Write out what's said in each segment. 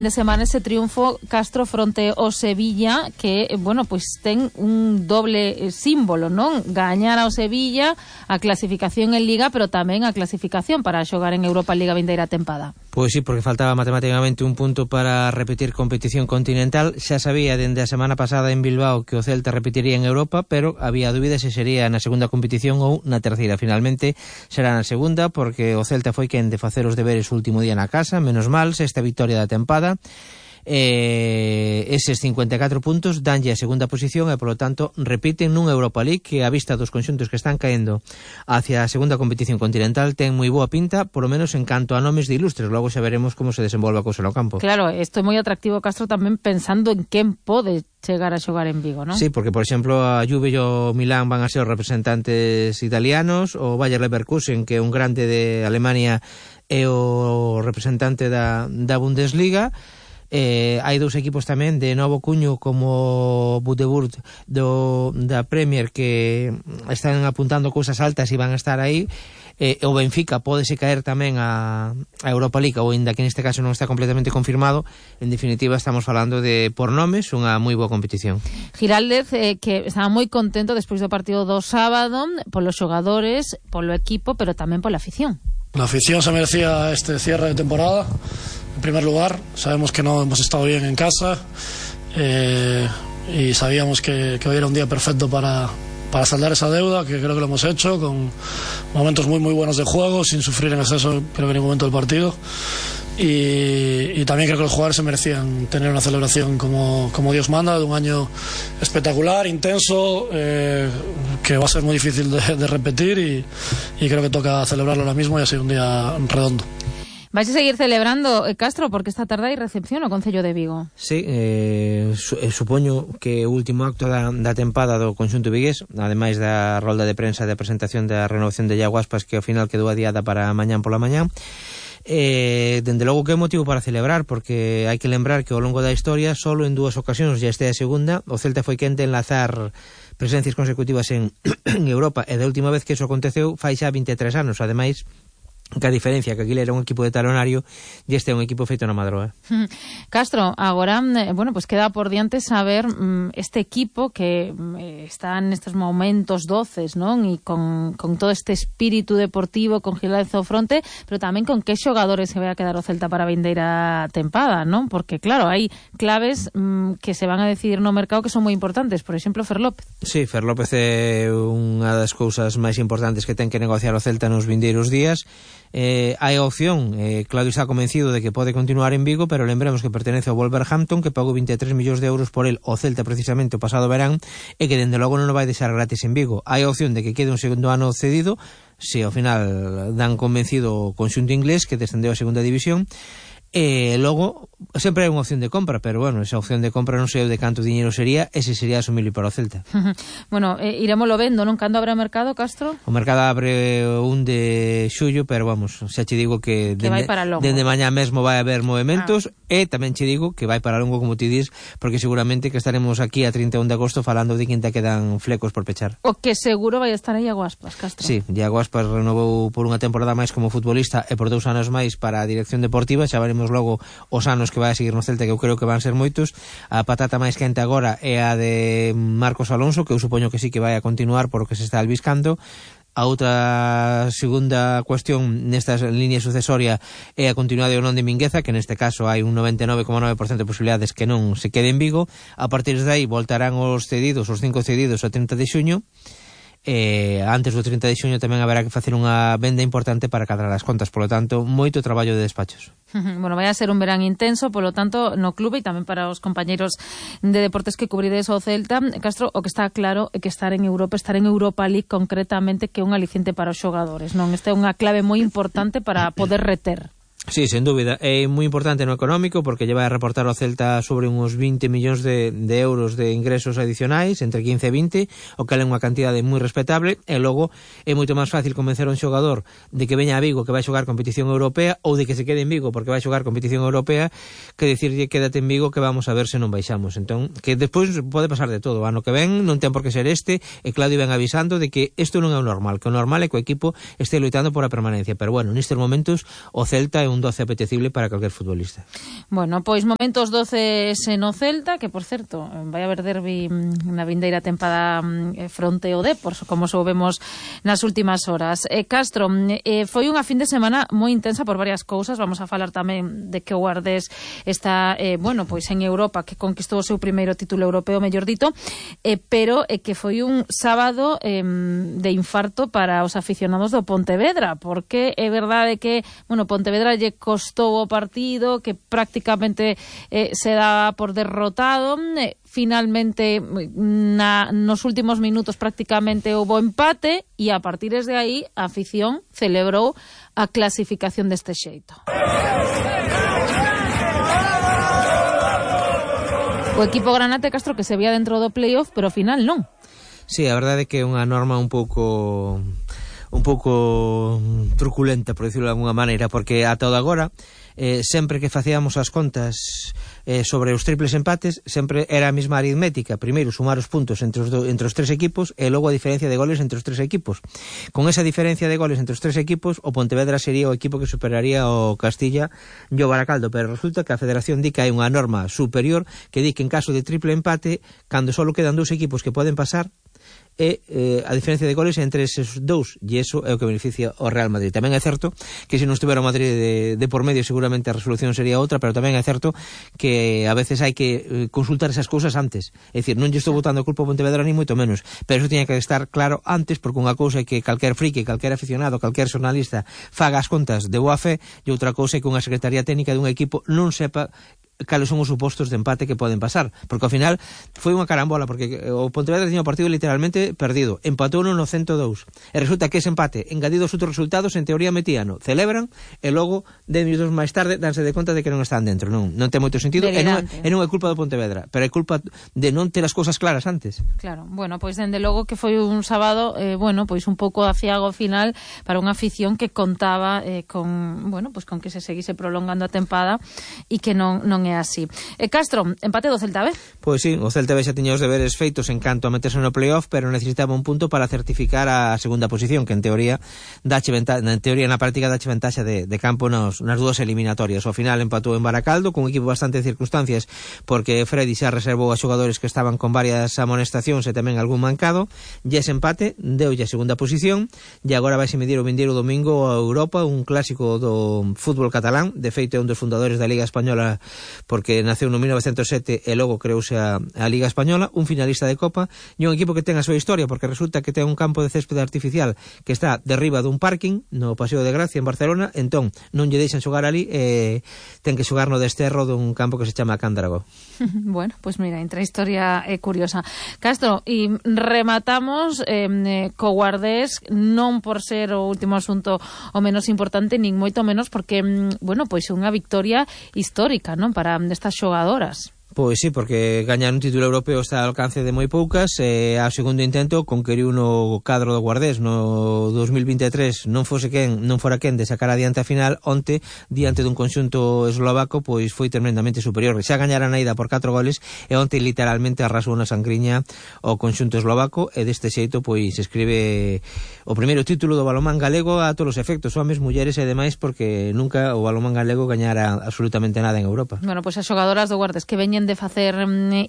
De semana ese triunfo Castro fronte ao Sevilla que, bueno, pois ten un doble símbolo, non? Gañar ao Sevilla a clasificación en Liga, pero tamén a clasificación para xogar en Europa Liga vindeira tempada. Pois sí, porque faltaba matemáticamente un punto para repetir competición continental. Xa sabía dende a semana pasada en Bilbao que o Celta repetiría en Europa, pero había dúbidas se sería na segunda competición ou na terceira. Finalmente será na segunda, porque o Celta foi quen de facer os deberes o último día na casa, menos mal, sexta victoria da tempada. Eses 54 puntos danlle a segunda posición e, polo tanto, repiten nunha Europa League que, a vista dos conxuntos que están caendo hacia a segunda competición continental, ten moi boa pinta, polo menos en canto a nomes de ilustres. Logo xa veremos como se desenvolve a cousa no campo. Claro, isto é moi atractivo, Castro, tamén pensando en quen pode chegar a xogar en Vigo, non? Sí, porque, por exemplo, a Juve e o Milán van a ser os representantes italianos, o Bayer Leverkusen, que é un grande de Alemania, é o representante da Bundesliga. Hai dous equipos tamén de novo cuño como Budeburt da Premier que están apuntando cousas altas e van a estar aí. O Benfica pódese caer tamén a Europa League, ou ainda que neste caso non está completamente confirmado. En definitiva, estamos falando de, por nomes, unha moi boa competición. Giraldez, que estaba moi contento despois do partido do sábado polos xogadores, polo equipo, pero tamén pola afición. La afición se merecía este cierre de temporada. En primer lugar, sabemos que no hemos estado bien en casa y sabíamos que hoy era un día perfecto para saldar esa deuda, que creo que lo hemos hecho, con momentos muy buenos de juego, sin sufrir en exceso creo que en ningún momento del partido. Y también creo que los jugadores se merecían tener una celebración como Dios manda, de un año espectacular, intenso, que va a ser muy difícil de repetir y creo que toca celebrarlo ahora mismo y ha sido un día redondo. Vais a seguir celebrando, Castro, porque esta tarde hai recepción ao Concello de Vigo. Sí, supoño que o último acto da tempada do conxunto vigués, ademais da rolda de prensa de presentación da renovación de Iago Aspas, que ao final quedou adiada para mañán pola mañán. Dende logo que é motivo para celebrar, porque hai que lembrar que ao longo da historia solo en dúas ocasións, ya este a segunda, o Celta foi quen de enlazar presencias consecutivas en Europa, e da última vez que iso aconteceu fai xa 23 anos, ademais que a diferencia que aquilo era un equipo de talonario e este é un equipo feito na Madroa. Castro, agora, bueno, pues queda por diante saber este equipo que está nestes momentos doces, non? E con todo este espírito deportivo, con Giraldez ao fronte, pero tamén con que xogadores se vai a quedar o Celta para a vindeira tempada, non? Porque, claro, hai claves que se van a decidir no mercado que son moi importantes, por exemplo, Fer López. Sí, Fer López é unha das cousas máis importantes que ten que negociar o Celta nos vindeiros días. Hai a opción, Claudio está convencido de que pode continuar en Vigo, pero lembremos que pertenece ao Wolverhampton, que pagou 23 millóns de euros por el o Celta precisamente o pasado verán, e que dende logo non o vai deixar gratis en Vigo. Hai a opción de que quede un segundo ano cedido, se ao final dan convencido o conxunto inglés que descendeu a segunda división. Logo, sempre hai unha opción de compra, pero bueno, esa opción de compra non sei de canto diñeiro sería, ese sería asumible para o Celta. Bueno, iremoslo vendo, non? Cando abre o mercado, Castro? O mercado abre 1 de xullo, pero vamos, xa che digo que dende mañá mesmo vai haber movimentos, e tamén che digo que vai para longo, como ti dis, porque seguramente que estaremos aquí a 31 de agosto falando de que quedan flecos por pechar. O que seguro vai estar aí Iago Aspas, Castro. Sí, Iago Aspas renovou por unha temporada máis como futbolista e por 2 anos máis para a dirección deportiva. Xa veremos logo os anos que vai a seguir no Celta, que eu creo que van ser moitos. A patata máis quente agora é a de Marcos Alonso, que eu supoño que sí que vai a continuar por o que se está albiscando. A outra segunda cuestión nestas líneas sucesoria é a continuidade ou non de Mingueza, que neste caso hai un 99,9% de posibilidades que non se quede en Vigo. A partir de aí voltarán os cedidos, os 5 cedidos ao 30 de xuño. Antes do 30 de xuño tamén haberá que facer unha venda importante para cadrar as contas, polo tanto, moito traballo de despachos. Bueno, vai a ser un verán intenso, polo tanto, no clube e tamén para os compañeiros de deportes que cubrides ao Celta. Castro, o que está claro é que estar en Europa League concretamente, que é un aliciente para os xogadores, non? Esta é unha clave moi importante para poder reter. Sí, sen dúbida, é moi importante no económico, porque lle vai a reportar ao Celta sobre uns 20 millóns de euros de ingresos adicionais, entre 15 e 20, o que é unha cantidade moi respetable, e logo é moito máis fácil convencer a un xogador de que veña a Vigo, que vai xogar competición europea, ou de que se quede en Vigo porque vai xogar competición europea, que dicirlle quédate en Vigo que vamos a ver se non baixamos. Entón, que despois pode pasar de todo, ano que ven non ten por que ser este, e Claudio ven avisando de que isto non é o normal, que o normal é que o equipo este loitando por a permanencia, pero bueno, nestes momentos o Celta é un un 12 apetecible para calquer futbolista. Bueno, pois momentos 12 no Celta, que por certo, vai haber derbi na vindeira tempada fronte ao Depor, como soubemos nas últimas horas. Castro, foi unha fin de semana moi intensa por varias cousas. Vamos a falar tamén de que o Guardés está, pois en Europa, que conquistou o seu primeiro título europeo, mellor dito, pero que foi un sábado de infarto para os aficionados do Pontevedra, porque é verdade que, Pontevedra lle costou o partido, que prácticamente se dá por derrotado. Finalmente, nos últimos minutos prácticamente houbo empate e a partir de aí a afición celebrou a clasificación deste xeito. O equipo Granate, Castro, que se vía dentro do playoff, pero ao final non. Sí, a verdade é que é unha norma un pouco truculenta, por decirlo de alguna maneira, porque ata o de agora sempre que facíamos as contas sobre os triples empates, sempre era a mesma aritmética. Primeiro sumar os puntos entre os tres equipos e logo a diferencia de goles entre os tres equipos. Con esa diferencia de goles entre os tres equipos, o Pontevedra sería o equipo que superaría o Castilla e o Baracaldo, pero resulta que a Federación di que hai unha norma superior que di que en caso de triple empate, cando só quedan dous equipos que poden pasar, e a diferencia de goles entre esos dous, e iso é o que beneficia o Real Madrid. Tamén é certo que se non estuvera o Madrid de por medio, seguramente a resolución sería outra, pero tamén é certo que a veces hai que consultar esas cousas antes. É dicir, non lle estou botando a culpa ao Pontevedra ni moito menos, pero iso tiña que estar claro antes, porque unha cousa é que calquer friki, calquer aficionado, calquer xornalista faga as contas de boa fe, e outra cousa é que unha secretaría técnica dun equipo non sepa cales son os supostos de empate que poden pasar, porque ao final foi unha carambola, porque o Pontevedra tiña o partido literalmente perdido, empatou no 102 e resulta que ese empate, engadido os outros resultados, en teoría metíano, celebran e logo 10 minutos máis tarde danse de conta de que non están dentro. Non ten moito sentido, e non é culpa do Pontevedra, pero é culpa de non ter as cousas claras antes. Claro, pois dende logo que foi un sábado pois un pouco aciago final para unha afición que contaba con que se seguise prolongando a tempada e que non é así. Castro, empate do Celta B? Pois sí, o Celta B xa tiña os deberes feitos en canto a meterse no playoff, pero necesitaba un punto para certificar a segunda posición, que en teoría na práctica dache ventaxa de campo nas dúas eliminatorias. Ao final empatou en Baracaldo con un equipo bastante de circunstancias, porque Freddy xa reservou a xogadores que estaban con varias amonestacións e tamén algún mancado, e ese empate deulle a segunda posición, e agora vaise medir o vindeiro domingo a Europa, un clásico do fútbol catalán. De feito é un dos fundadores da Liga Española, porque naceu no 1907 e logo creouse a Liga Española, un finalista de Copa e un equipo que ten a súa historia, porque resulta que ten un campo de céspede artificial que está derriba dun parking no Paseo de Gracia en Barcelona, entón non lle deixan xogar ali e ten que xogar no desterro dun campo que se chama Cándrago. Bueno, pois mira, entra a historia curiosa. Castro, e rematamos co Guardés, non por ser o último asunto o menos importante, nin moito menos, porque, pois unha victoria histórica, non, para estas xogadoras. Pois sí, porque gañar un título europeo está ao alcance de moi poucas, e ao segundo intento conqueriu no cadro do Guardés no 2023, non fora quen de sacar adiante a final. Onte, diante dun conxunto eslovaco, pois foi tremendamente superior. Xa gañara na ida por 4 goles e onte literalmente arrasou na sangriña o conxunto eslovaco, e deste xeito pois escribe o primeiro título do balonmán galego a todos os efectos, homes, mulleres e demais, porque nunca o balonmán galego gañara absolutamente nada en Europa. Bueno, pois as xogadoras do Guardés que veñen de facer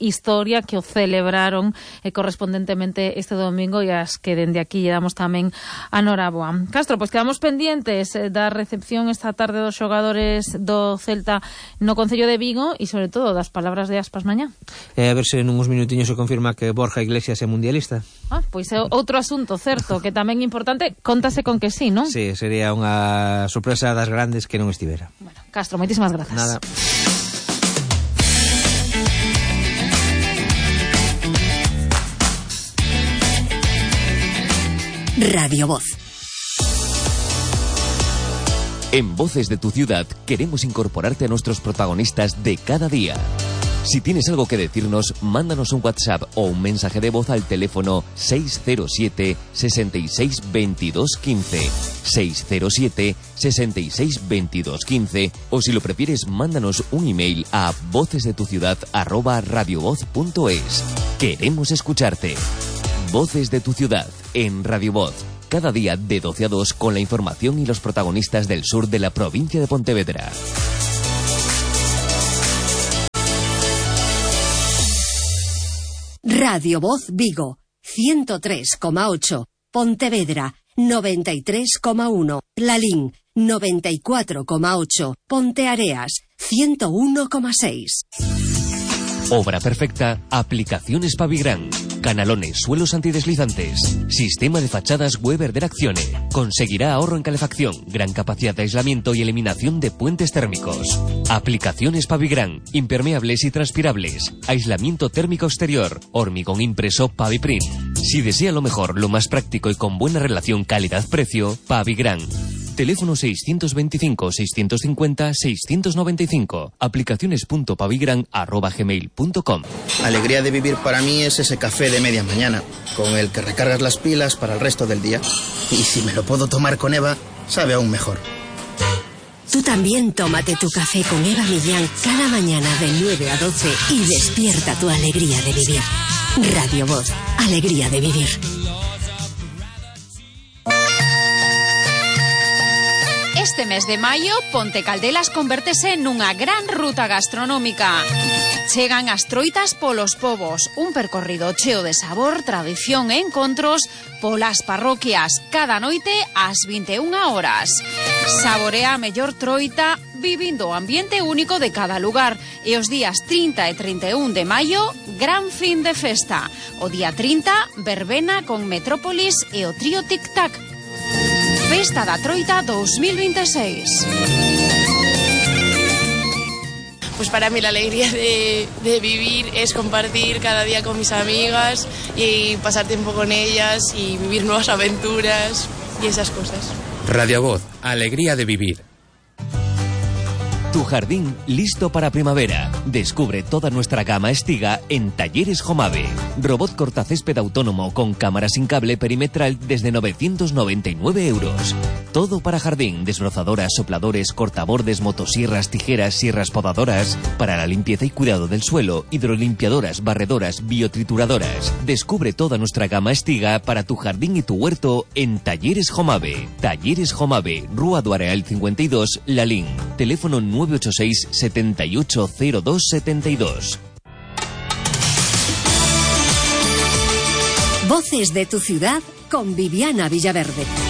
historia, que o celebraron correspondentemente este domingo, e as que dende aquí lle damos tamén a noraboa. Castro, pois quedamos pendientes da recepción esta tarde dos xogadores do Celta no Concello de Vigo e sobre todo das palabras de Aspas mañá. A ver se nun uns minutiños se confirma que Borja Iglesias é mundialista. Pois é outro asunto, certo, que tamén importante, contase con que sí, non? Sí, sería unha sorpresa das grandes que non estivera. Bueno, Castro, moitísimas grazas. Nada. Radio Voz. En Voces de tu Ciudad queremos incorporarte a nuestros protagonistas de cada día. Si tienes algo que decirnos, mándanos un WhatsApp o un mensaje de voz al teléfono 607 66 22 15, 607 66 22 15, o si lo prefieres, mándanos un email a vocesdetuciudad@radiovoz.es. Queremos escucharte. Voces de tu Ciudad en Radio Voz. cada día de 12 a 2 con la información y los protagonistas del sur de la provincia de Pontevedra. Radio Voz Vigo, 103,8. Pontevedra, 93,1. Lalín, 94,8. Ponteareas, 101,6. Obra perfecta, aplicaciones Pavigran, canalones, suelos antideslizantes, sistema de fachadas Weber de Accione. Conseguirá ahorro en calefacción, gran capacidad de aislamiento y eliminación de puentes térmicos. Aplicaciones Pavigran, impermeables y transpirables, aislamiento térmico exterior, hormigón impreso Paviprint. Si desea lo mejor, lo más práctico y con buena relación calidad-precio, Pavigran. Teléfono 625-650-695. Aplicaciones.pavigran@gmail.com. Alegría de vivir para mí es ese café de media mañana, con el que recargas las pilas para el resto del día. Y si me lo puedo tomar con Eva, sabe aún mejor. Tú también tómate tu café con Eva Millán cada mañana de 9 a 12 y despierta tu alegría de vivir. Radio Voz, alegría de vivir. Este mes de maio, Ponte Caldelas convértese nunha gran ruta gastronómica. Chegan as troitas polos povos, un percorrido cheo de sabor, tradición e encontros polas parroquias, cada noite ás 21 horas. Saborea a mellor troita vivindo o ambiente único de cada lugar. E os días 30 e 31 de maio, gran fin de festa. O día 30, verbena con Metrópolis e o trío Tic Tac. Festa da Troita 2026. Pues para mí la alegría de vivir es compartir cada día con mis amigas y pasar tiempo con ellas y vivir nuevas aventuras y esas cosas. Radio Voz, alegría de vivir. Tu jardín listo para primavera. Descubre toda nuestra gama Estiga en Talleres Jomave. Robot cortacésped autónomo con cámara sin cable perimetral desde 999 euros. Todo para jardín, desbrozadoras, sopladores, cortabordes, motosierras, tijeras, sierras podadoras. Para la limpieza y cuidado del suelo, hidrolimpiadoras, barredoras, biotrituradoras. Descubre toda nuestra gama Estiga para tu jardín y tu huerto en Talleres Jomave. Talleres Jomave, Rúa do Areal 52, Lalín. Teléfono 986 780272. Voces de tu ciudad con Viviana Villaverde.